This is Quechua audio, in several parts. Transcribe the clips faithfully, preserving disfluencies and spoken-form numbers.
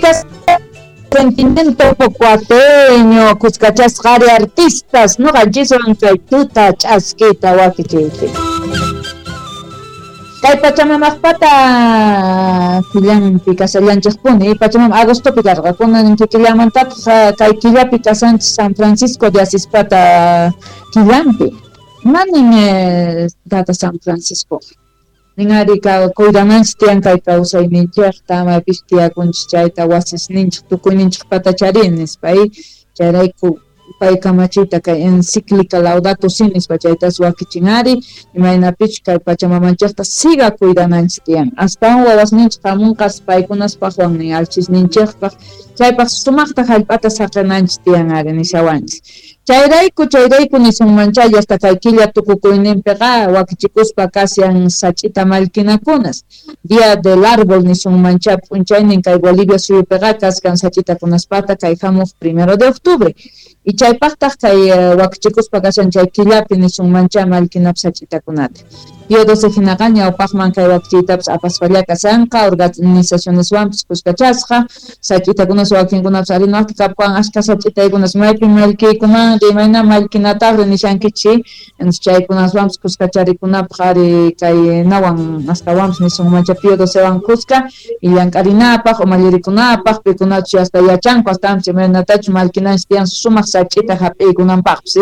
Chaypikas sentimiento pocuateño, kuskachasqari artistas, ñuqanchiswan kay tuta ch'askita wakichiypi. Kay Pachamamaqpata killanpi kasallanchikpuni, Pachamama agostopi karqa, kunan killamantataq kay killapi kasanchik San Francisco de Asispata killanpi. Manin tata San Francisco. Ninari ka cuidananchik tiyan kay kawsayninchikta, maypis tiyakunchik chayta wasisninchik tukuyninchik patachari nispa, chayrayku pay kamachiyta kay encíclica Laudato Si nispa chaytas wakichinari, imaynapich kay Pachamamanchikta siga cuidananchik tiyan. Astawan wawasninchik hamunqas paykunaspaqwan nin alchisninchikpaq, chaypaq sumaqta hallp'ata saqinanchik tiyan ari nishawanchik. Chayrayku chayrayku nisunmanchaya hasta kay killa tukukuyninpiqa wakichikuspa kasyan sach'ita mallkinakunas. Día del árbol nisunmancha p'unchaynin kay Bolivia suyupiqa kaskan sach'itakunaspata kay hamuq primero de octubre. Y chaypaqtaq kay wakichikuspa kashan chay killapi nisunmancha mallkinap sach'itakunata. Pío doce hinaqa ñawpaqman kay wakichiytapas apaspalla kasanqa organizacioneswanpis kuskachasqa sach'itakunas wakinkunapas ari nuqta kapwan ashka sach'itaykunas maypi mallkiykuman imayna mallkinataqri nishankichik chaykunaswanpis kuskacharikunapaq ari kay nawan astawanpis nisunmancha Pío docewan kuska llank'arinapaq umallirikunapaq pikunachu hasta yachanku astawanpis imaynatachu mallkinanchik tiyan sumaq sach'ita hap'iykunanpaqpis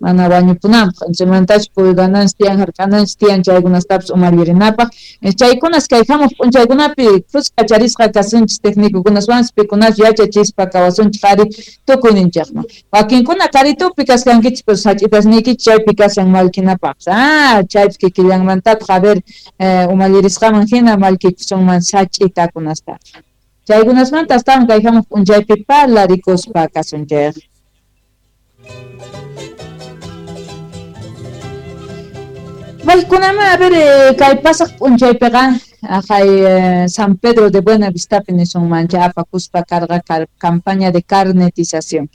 mana wañupunanpaq chaymantachu cuidananchik tiyan hark'ananchik tiyan chaykunastapis umallirinapaq chaykunas kay hamuq p'unchaykunapi kuskacharisqa kasunchik técnicokunaswanpis pikunachu yachachispa kawasunchik ari tukuyninchikman wakinkuna karitupi kaskankichik pero sach'itasniykichik chaypi kashan mallkinapaqpis ah chaypi kikillanmantataq a ver umallirisqaman hina mallkikusunman sach'itakunasta chaykunasmanta astawan kay hamuq p'unchaypi parlarikuspa kasunchik. Wallkunama, a ver, kay pasaq p'unchaypiqa kay San Pedro de Buenavistapi nisunmancha apakuspa karqa campaña de carnetización.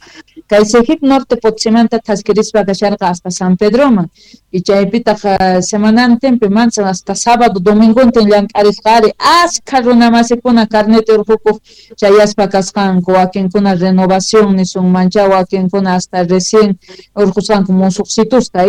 Kay Sejip Norte Potsimanta thaskirispa kasharqa hasta San Pedroman. Y chaypitaq semanantinpi mansan hasta sábado domingontin llank'arisqa ari askha runamasikuna carnete urqukuq chayaspa kasqanku wakinkuna renovación nisunmancha wakinkuna hasta recién urqusqanku musuqsitusta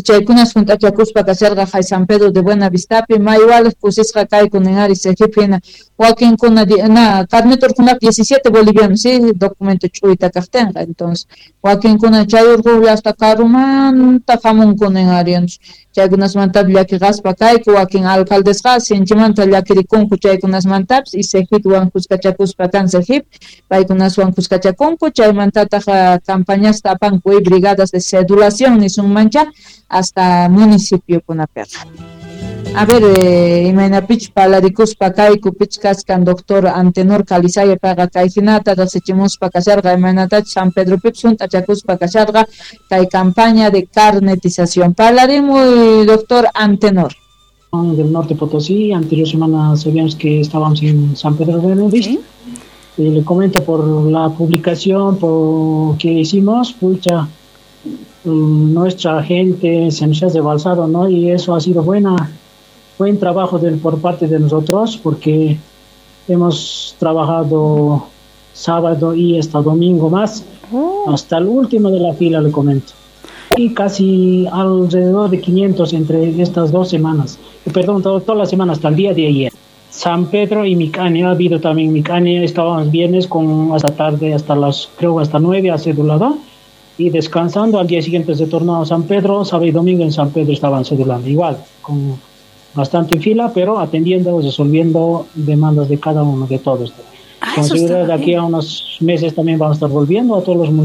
chaykunas hunt'achakuspa kasharqa kay San Pedro de Buenavistapi maywaliq kusisqa kayku nin ari Sejip hina wakinkuna na carnet urqunapi diecisiete bolivianos sí documento ch'uyta kaqtinqa entonces wakinkuna chay urqulla hasta karumanta hamunku nin ari chaykunasmantapis llakiqaspa kayku wakin alcaldesqa sinchimanta llakirikunku chaykunasmantapis y Sejipwan kuskachakuspa kan Sejip paykunaswan kuskachakunku chaymantataq campañasta apanku y brigadas de cedulación nisunmancha hasta municipiokunapiqa. A ver, eh, imaynapich parlarikuspa kayku pich kaskan doctor Antenor Calizaya payqa kay hinata riqsichimuspa kasharqa imaynatach San Pedropipis hunt'achakuspa kasharqa kay campaña de carnetización. Parlarimuy doctor Antenor. Del Norte Potosí, anterior semana sabíamos que estábamos en San Pedro de Buenavista. ¿Sí? Y le comento por la publicación por que hicimos, pucha, nuestra gente se nos ha rebalsado, ¿no? Y eso ha sido buena, buen trabajo del, por parte de nosotros, porque hemos trabajado sábado y hasta domingo más, oh. Hasta el último de la fila, le comento. Y casi alrededor de quinientos entre estas dos semanas, perdón, todo, toda la semana hasta el día de ayer. San Pedro y Micane, ha habido también Micane, estábamos viernes con hasta tarde, hasta las, creo hasta nueve ha cedulado, y descansando, al día siguiente se tornó a San Pedro, sábado y domingo en San Pedro estaban cedulando, igual, con bastante fila, pero atendiendo, resolviendo demandas de cada uno, de todos. Ah, con seguridad de aquí a unos meses también vamos a estar volviendo a todos los municipios.